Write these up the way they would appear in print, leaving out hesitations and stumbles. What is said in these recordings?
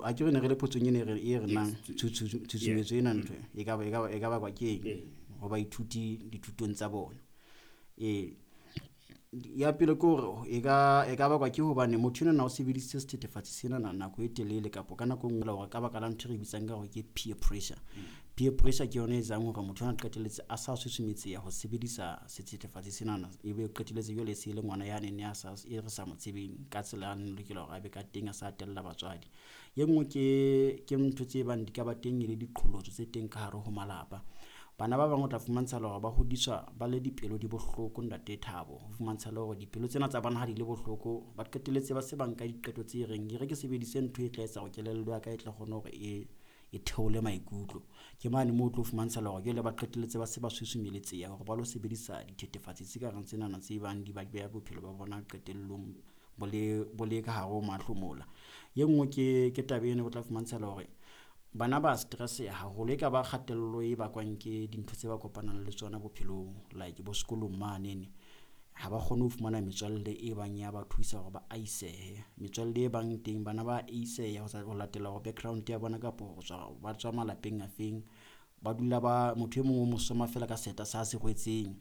A ke re ne re le potsong ene e re nang tshusumetso ena ntho e ka e ka bakwa ke eng ho baithuti dithutong tsa bona. Ee, ya pele ke hore e ka bakwa ke hobane motho enwana o sebedisitse sethethefatsi sena nako e telele, kapa ka nako e nngwe hore ka baka la ntho e re bitsang ka hore ke peer pressure. Peer pressure ke yona e etsang hore motho ona qetelletse a sa susumetseha ho sebedisa sethethefatsi senana, ebe o qetelletse jwale e se le ngwana yane a sa e re sa mo tsebeng ka tsela a lokela hore a be ka teng, a sa tella batswadi. E nngwe ke ntho tse bang di ka ba teng e le diqholotso tse teng ka hare ho malapa. Bana ba bang o tla fumantsha hore ba hodiswa ba le dipelo di bohloko, ntate Thabo. Ho fumantsha le hore dipelo tsena tsa bona ha di le bohloko, ba qetelletse ba se ba nka diqeto tse reng e re ke sebedise ntho e tla etsa hore kelello ya ka e tla kgona hore e theole maikutlo. Ke mane moo o tlo fumantsha hore jwale ba qetelletse ba se ba susumeletseha hore ba lo sebedisa dithethefatsi tse ka reng tsenana tse bang di ba beha bophelo ba bona qetellong bo le ka hare ho mahlomola. E nngwe ke taba ena, o tla fumantsha hore bana ba stress haholo, e ka ba kgatello e bakwang ke dintho tse ba kopanang le tsona bophelong, like bo sekolong manene ha ba kgone ho fumana metswalle e bang ya ba thusa hore ba aisehe. Metswalle e bang teng, bana ba aiseha ho latela hore background ya bona kapa ho tswa ba tswa malapeng a feng. Ba dula ba motho e mong o mo soma fela ka seeta sa se rwetseng,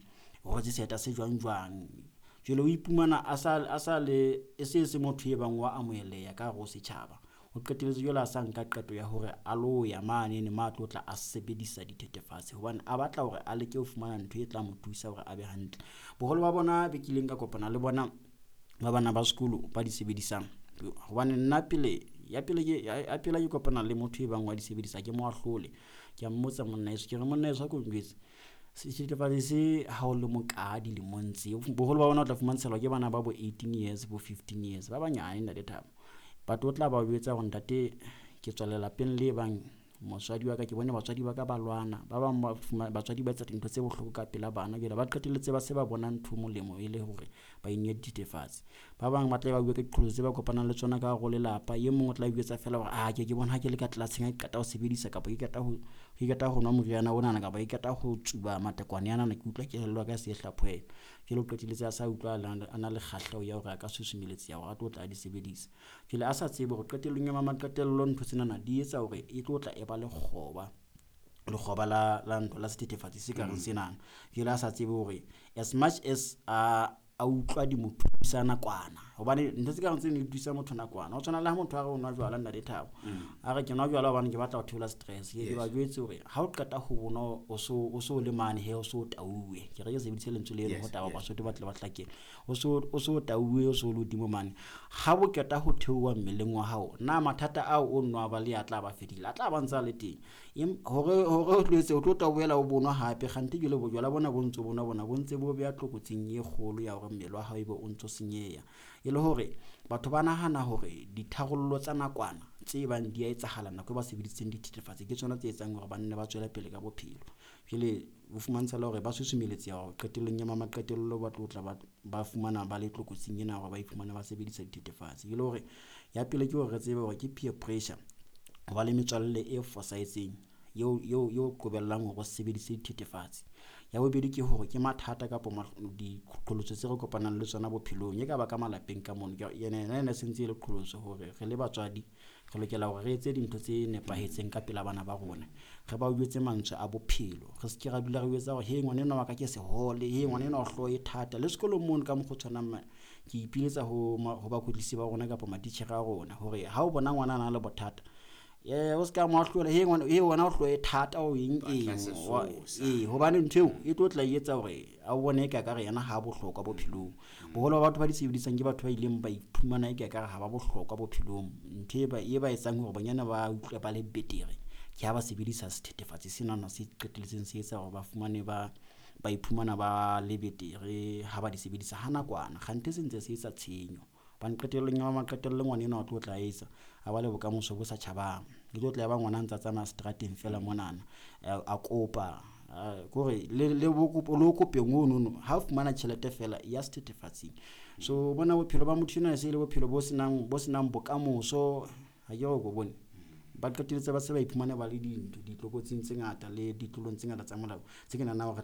o rwetse seeta se jwang jwang. Jwale o iphumana a sa le e se se motho e bang wa amoheleha ka hare ho setjhaba. O qetelletse jwale a sa nka qeto ya hore a lo ya manene ma tlo tla a sebedisa dithethefatsi, hobane a batla hore a leke ho fumana ntho e tla mo thusa hore a be hantle. Boholo ba bona be kileng ka kopana le bona ba bana ba sekolo ba di sebedisang, hobane nna pele ya pele ke ya pele ke kopana le motho e bang wa di sebedisa, ke mo ahlole, ke a mmotsa, "Monna heso," ke re, "monna heso, a ko njwetse, sethethefatsi se ha o le moka dilemong tse?" Boholo ba bona o tla fumantsha ke bana ba bo 18 years, bo 15 years, ba banyane, ntate Thabo. But o tla ba jwetsa hore, "Ntate, ke tswa lelapeng le bang motswadi wa ka, ke bone batswadi ba ka ba lwana, ba bang ba batswadi ba etsa dintho tse bohloko ka pela bana." Jwale ba qetelletse ba se ba bona ntho molemo e le hore ba inwe dithethefatsi. Ba bang ba tla ba bua ka diqholotso tse ba kopanang le tsona ka hare ho lelapa. E mong o tla jwetsa fela hore a ke bona ha ke le ka tlelaseng, ha ke qeta ho sebedisa kapa ke qeta ho nwa moriana onana, kapa ke qeta ho tsuba matekwane anana, ke utlwa kelello ya ka e se e hlaphohelwa. Jwale o qetelletse a sa utlwa a na le kgahleho ya hore a ka susumelletseha hore a tlo tla di sebedisa. Jwale a sa tsebe hore qetellong ya maqetello ntho tsenana di etsa hore e tlo tla e ba lekgoba la ntho la sethethefatsi se ka reng senana. Jwale a sa tsebe hore as much as a utlwa di mo thusa nakwana, hobane ntho tse ka reng tseno di thusa motho nakwana. Ho tshwana le ha motho a re o nwa jwala, ntate Thabo, a re ke nwa jwala hobane ke batla ho theola stress. Ke ba jwetse hore ha o qeta ho bonwa, o so le mane he, o so tauwe, ke re ke sebedise lentswe leno ho taba, Basotho ba tle ba hlakele, o so tauwe, o so le hodimo mane, ha bo qeta ho theoha mmeleng wa hao, na mathata ao o nwa ba le a tla ba fedile, a tla ba ntse a le teng. Hore o tlo etse o tlo tla boela o bonwa hape kgante. Jwale bojwala bona bo ntso bonwa bona bo ntse bo beha tlokotsing e kgolo ya hore mmele wa hao ebe o ntso senyeha. E le hore batho ba nahana hore ditharollo tsa nakwana tse bang di a etsahala nako e ba sebedisitseng dithethefatsi ke tsona tse etsang hore banne ba tswele pele ka bophelo. Jwale o fumantsha le hore ba susumelletseha hore qetellong ya maqetello ba tlo tla ba fumana ba le tlokotsing ena hore ba iphumane ba sebedisa dithethefatsi. E le hore ya pele ke hore re tsebe hore ke peer pressure, ho ba le metswalle e fosahetseng eo qobellang hore o sebedise dithethefatsi. Ya bobedi ke hore ke mathata kapa diqholotso tse re kopanang le tsona bophelong, e ka ba ka malapeng ka mono. Yena ena se ntse e le qholotso hore re le batswadi re lokela hore re etse dintho tse nepahetseng ka pela bana ba rona, re ba jwetse mantswe a bophelo, re se ke ra dula re jwetsa hore he, ngwana enwa wa ka ke sehole, he, ngwana enwa o hlooho e thata. Le sekolong mono ka mokgwa o tshwanang, ke ipiletsa ho bakwetlisi ba rona kapa matitjhere a rona hore ha o bona ngwana a na le bothata, o se ka mo ahlola, he ngwana, he wena o hlooho e thata, o eng Batla eng. Sesosa. Ee, hobane ntho eo e tlo tla e etsa hore a bone e ka kare yena ha bohlokwa bophelong. Boholo ba batho ba di sebedisang ke batho ba ileng ba iphumana e ka kare ha ba bohlokwa bophelong. Ntho e ba etsang hore bonyane ba utlwe ba le betere ke ha ba sebedisa sethethefatsi senana, se qetelletseng se etsa hore ba fumane ba iphumana ba le betere ha ba di sebedisa ha nakwana, kgante se ntse se etsa tshenyo. Hobane qetellong ya maqetello ngwana enwa o tlo tla etsa a ba le bokamoso bo sa tjhabang, e tlo tla ya ba ngwana a ntsa tsamaya seterateng fela monana, a kopa kore le ho kopeng ono ha o fumana tjhelete fela ya sethethefatsing. So bona bophelo ba motho enwa e se e le bophelo bo senang bokamoso. Ha ke re ko bone ba qetelletse ba se ba iphumana ba le dintho ditlokotsing tse ngata le ditlolong tse ngata tsa molao tse ke nahanang hore.